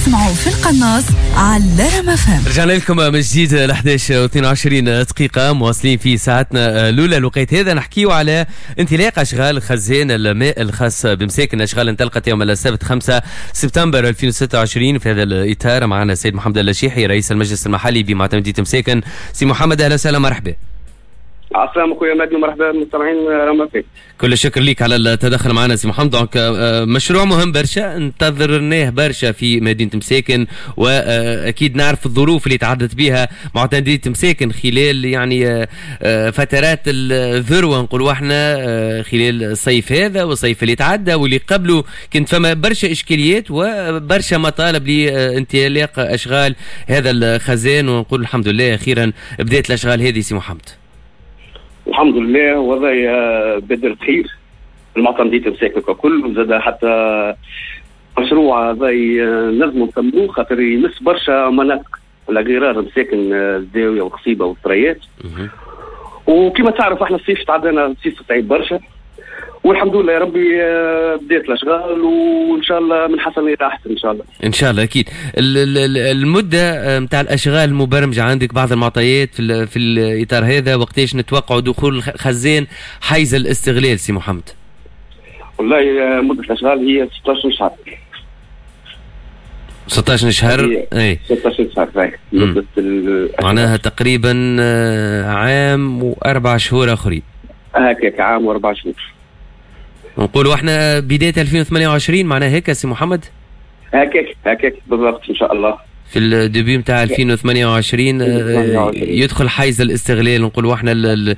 تسمعوا في القناص على رام FM. رجعنا لكم من جديد ل 11 و22 دقيقة، مواصلين في ساعتنا الأولى. الوقت هذا نحكيو على انطلاق أشغال خزان الماء الخاص بمساكن. أشغال انطلقت يوم السبت 5 سبتمبر 2026. في هذا الإطار معنا السيد محمد اللشيحي رئيس المجلس المحلي بمعتمدية مساكن. سي محمد، أهلا وسهلا، مرحبا. عسلامة خويا مهدي، ومرحبا بالمستمعين رام FM. كل الشكر لك على التدخل معنا سي محمد. donc مشروع مهم برشا، انتظرناه برشا في مدينة مساكن، واكيد نعرف الظروف اللي تعدت بها معتمدية مساكن خلال يعني فترات الذروة، نقولوا احنا خلال الصيف هذا والصيف اللي تعدى واللي قبله، كنت فما برشا اشكاليات وبرشا مطالب لانطلاق اشغال هذا الخزان، ونقول الحمد لله اخيرا بدات الاشغال هذه سي محمد. الحمد لله، وضعي بادرة خير المعتمدية مساكن ككل، وزاد حتى مشروع هذا نجموا نسموه خاطر يمس برشا مناطق على غرار مساكن، الزاوية وقصيبه والثريات. وكما تعرف احنا الصيف تعدينا صيف صعيب برشا، والحمد لله يا ربي بدات الاشغال، وان شاء الله من حسن الى احسن ان شاء الله. ان شاء الله. اكيد المدة نتاع الاشغال المبرمجه، عندك بعض المعطيات في الاطار هذا؟ وقتاش نتوقعوا دخول الخزان حيز الاستغلال سي محمد؟ والله مده الاشغال هي 16 شهر. 16 شهر. اي، 16 شهر مده. معناها تقريبا عام و4 شهور اخرين. هكاك، عام و4 شهور. نقولوا احنا بداية 2028 معناها هيك سي محمد؟ هكاك هكاك بالضبط ان شاء الله. في ال début نتاع 2028 يدخل حيز الاستغلال نقولوا احنا.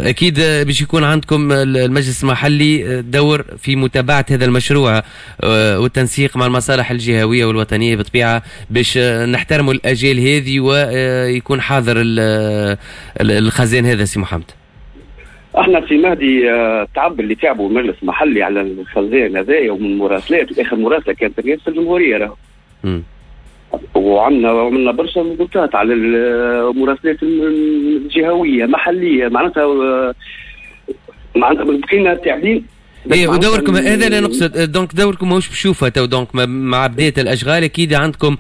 اكيد باش يكون عندكم المجلس المحلي دور في متابعه هذا المشروع والتنسيق مع المصالح الجهوية والوطنيه بطبيعه، باش نحترموا الاجيال هذه ويكون حاضر الخزان هذا سي محمد. احنا سي مهدي تعب اللي تعبوا المجلس المحلي على الخزان هذايا ومن مراسلات، واخر مراسله كانت رئاسة الجمهورية راهو. وعندنا عملنا برشا ضغوطات على المراسلات الجهوية محليه، معناتها بقينا تعبين. ايه، ودوركم هذا اللي نقصد، donc دوركم ماهوش بشوفه تو، donc مع بداية الاشغال اكيد عندكم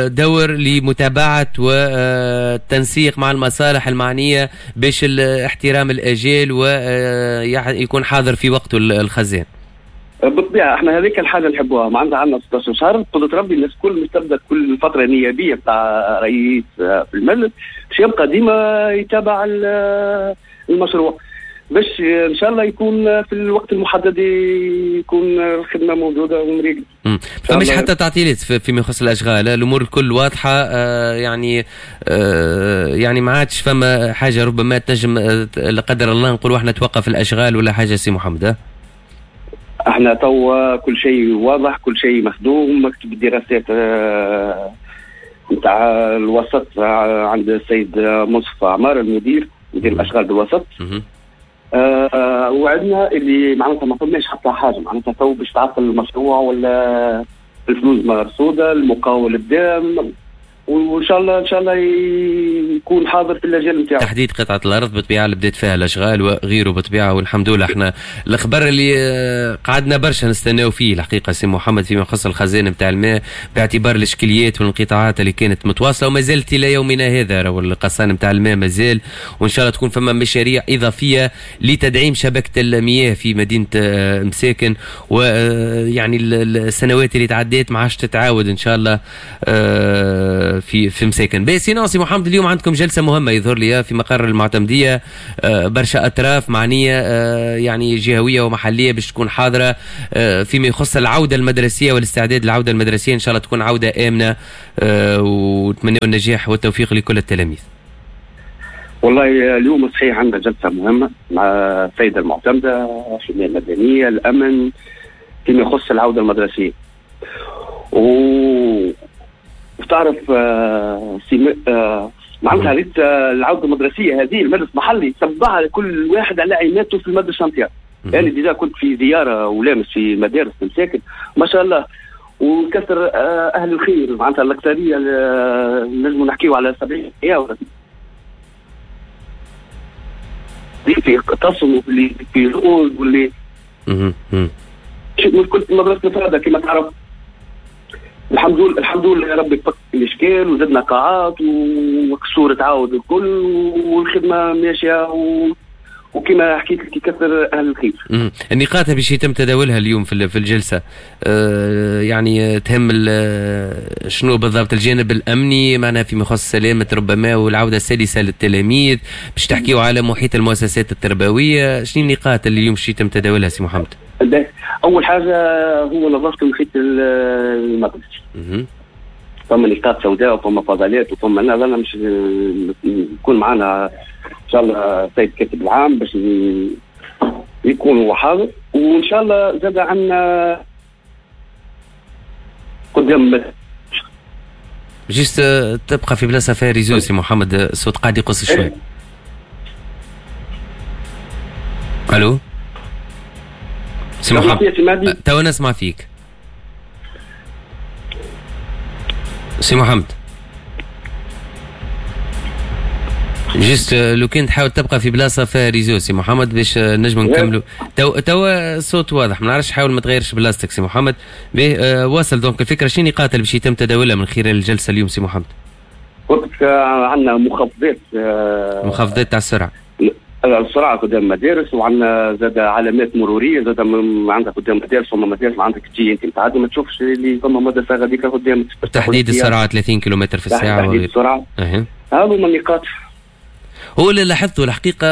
دور لمتابعة والتنسيق مع المصالح المعنية باش احترام الاجال ويكون حاضر في وقته الخزان. بالطبيعة احنا هذيك الحاجة نحبوها، معناتها عندنا 16 شهر قدرة ربي، الناس الكل مش تبدا كل فترة نيابية بتاع رئيس في المجلس باش يبقى ديما يتابع المشروع، باش ان شاء الله يكون في الوقت المحدد يكون الخدمة موجودة ومريقل. فمش حتى تعطيلات فيما يخص الاشغال، الامور الكل واضحه، يعني ما عادش فما حاجة ربما تنجم لا قدر الله نقولوا احنا توقف الاشغال ولا حاجة سي محمد؟ احنا توا كل شيء واضح، كل شيء مخدوم، مكتب الدراسات نتاع الوسط عند السيد مصطفى عمار المدير، مدير الاشغال بالوسط. وعدنا اللي معناتها ما فماش حتى حاجة معناتها تو باش تعطل المشروع، ولا الفلوس مرصوده، المقاول بدا، وان شاء الله ان شاء الله يكون حاضر في الاجال نتاعو. تحديد قطعه الارض بالطبيعة اللي بدات فيها الاشغال وغيره بالطبيعه، والحمد لله احنا الخبر اللي قعدنا برشا نستناو فيه الحقيقة سي محمد فيما يخص الخزانة نتاع الماء، باعتبار الاشكاليات والانقطاعات اللي كانت متواصلة وما زالت الى يومنا هذا، راهو القصان نتاع الماء مازال، وان شاء الله تكون فما مشاريع اضافية لتدعيم شبكة المياه في مدينة مساكن، ويعني السنوات اللي تعديت ما عادش تتعاود ان شاء الله في مساكن. باهي سي محمد، اليوم عندكم جلسه مهمة يظهر لي في مقر المعتمديه، برشا اطراف معنية يعني جهويه ومحليه باش تكون حاضره فيما يخص العودة المدرسية والاستعداد للعودة المدرسيه. ان شاء الله تكون عوده امنه ونتمنى النجاح والتوفيق لكل التلاميذ. والله اليوم صحيح عندنا جلسه مهمة مع السيدة المعتمده، الحماية المدنيه، الامن، فيما يخص العودة المدرسيه. وتعرف معناتها ريت العودة المدرسية هذه المجلس المحلي تبعها كل واحد على عيناته في المدرسة نتاعو. يعني déjà كنت في زيارة ولامس في مدارس مساكن، ما شاء الله، وكثر اهل الخير، معناتها الاكثرية نجموا نحكيو على 70 ولا في تصموا اللي في زوز واللي مشكلة مدرسة الفرادة كما تعرف. الحمد لله يا ربي فك الاشكال وزدنا قاعات وكسور تعاود الكل والخدمة ماشية وكما حكيت لك يكثر اهل الخير. النقاط باش يتم تداولها اليوم في الجلسة يعني تهم شنو بالضبط؟ الجانب الامني معناها فيما يخص سلامه ربما والعودة السلسه للتلاميذ، باش تحكيوا على محيط المؤسسات التربوية، شنو النقاط اللي اليوم باش يتم تداولها سي محمد؟ اول حاجة هو نظافة المحيط المدرسي. فما نقاط سوداء وفما فضلات وفما انا مش يكون معنا ان شاء الله السيد الكاتب العام باش يكون هو حاضر، وان شاء الله زاد عندنا قدام juste تبقى في بلاصة فيها réseau سي محمد، الصوت قاعد يقص شوي. الو سي محمد، توا نسمع فيك سي محمد. juste لو كان تحاول تبقى في بلاصة فيها réseau سي محمد باش نجم نكملوا. توا الصوت واضح، ما نعرفش، حاول ما تغيرش بلاصتك سي محمد. واصل donc الفكرة، شنو النقاط اللي باش يتم تداولها من خلال الجلسة اليوم سي محمد؟ قلت عندنا مخفضات، مخفضات تاع السرعة، السرعة قدام المدارس، وعندنا زاد علامات مروريه زاد عندك قدام المدارس، فما مدارس عندك تجي انت متعدي ما تشوفش اللي فما مدرسه غاديك قدام. تحديد السرعة 30 كيلومتر في الساعة، تحديد السرعة. هذو هما النقاط. هو اللي لاحظته الحقيقة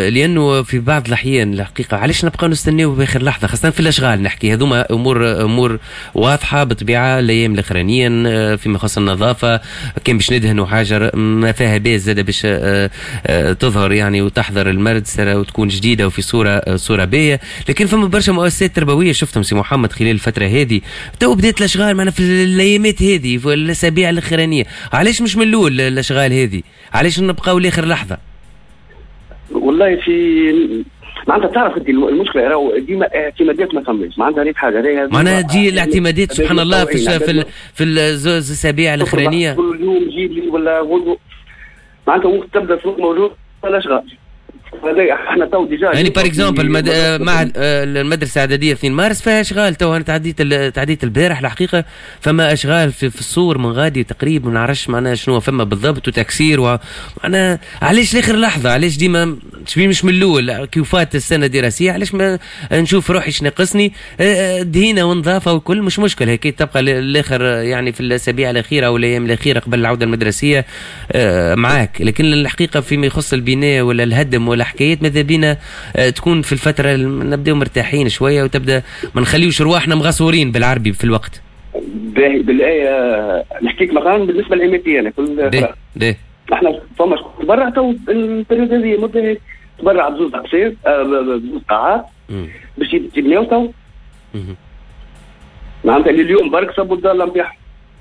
لأنه في بعض الأحيان الحقيقة علاش نبقاو نستناو بآخر لحظة، خاصة في الأشغال نحكي، هذوما أمور واضحة بالطبيعة الأيام الأخرانية فيما يخص النظافة، كان باش ندهنوا حاجة ما فيها باس زادة باش تظهر يعني وتحضر المدرسة وتكون جديدة وفي صورة باهية. لكن فما برشا مؤسسات تربوية شفتهم سي محمد خلال الفترة هذه تو بدات الأشغال معنا في الأيامات هذه في الأسابيع الأخرانية، علاش مش من الأول الأشغال هذه؟ علاش نبقاو لاخر لحظة؟ والله في معناتها تعرف انت المشكلة راهو ديما اعتمادات ما فماش، معناتها ريت حاجة معناها تجي الاعتمادات سبحان الله في الزوز الاسابيع الاخرانية، كل يوم جيب لي ولا غدوه، معناتها وقت تبدا السوق موجود الاشغال. هذا احنا تو déjà يعني par exemple مع المدرسة الاعدادية 2 مارس فيها اشغال تو، انا تعديت البارح الحقيقة فما اشغال في الصور من غادي تقريبا، ما نعرفش معناها شنو فما بالضبط وتكسير معناها علاش لاخر لحظة؟ علاش ديما مش من الاول كيفات السنة الدراسية؟ علاش ما نشوف روحي شنو ناقصني؟ دهينه ونظافه وكل مش مشكل، هيك تبقى للاخر يعني في الاسابيع الاخيرة او الايام الاخيرة قبل العودة المدرسية معاك. لكن الحقيقة فيما يخص البناء ولا الهدم ولا حكايات ماذا بينا تكون في الفترة نبداو مرتاحين شوية وتبدا ما نخليوش رواحنا مغصورين بالعربي في الوقت. باهي بالآية نحكيك مثلا بالنسبة للإماتية أنا كل احنا فما تبرع تو ال période هذه مدة تبرع بزوز أقسام بزوز قاعات باش يبنيو تو، معناتها اللي اليوم برك صبوا الدار نتاعهم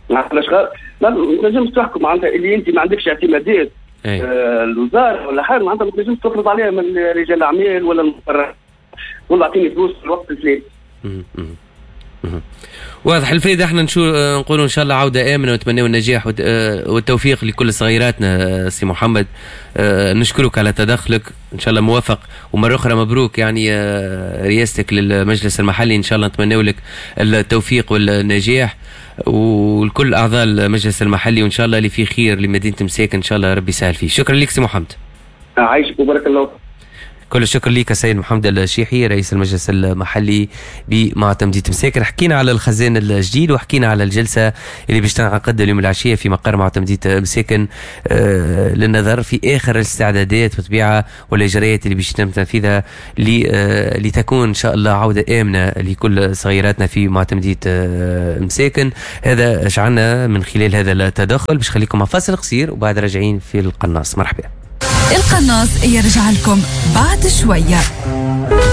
معناتها الأشغال ما تنجمش تحكم، معناتها اللي أنت ما عندكش اعتمادات الوزارة ولا حاجة معناتها ما تنجمش تفرض عليها من رجال الاعمال ولا المقرر والله اعطيني فلوس في الوقت الفلاني. واضح الفايدة. احنا نقولوا ان شاء الله عوده امنه ونتمنوا النجاح والتوفيق لكل صغيراتنا. سي محمد نشكرك على تدخلك، ان شاء الله موافق، ومرة اخرى مبروك يعني رئاستك للمجلس المحلي، ان شاء الله نتمنوا لك التوفيق والنجاح والكل اعضاء المجلس المحلي، وان شاء الله اللي فيه خير لمدينة مساكن ان شاء الله ربي يسهل فيه. شكرا لك سي محمد. عايشك وبارك الله. كل الشكر لك السيد محمد الشيحي رئيس المجلس المحلي بمعتمدية مساكن. حكينا على الخزان الجديد وحكينا على الجلسة اللي باش تنعقد اليوم العشية في مقر معتمدية مساكن للنظر في آخر الاستعدادات بالطبيعة والإجراءات اللي باش يتم تنفيذها لتكون إن شاء الله عودة آمنة لكل صغيراتنا في معتمدية مساكن. هذا شعلنا من خلال هذا التدخل، باش خليكم مع فاصل قصير وبعد راجعين في القناص. مرحبا. القناص يرجع لكم بعد شوية.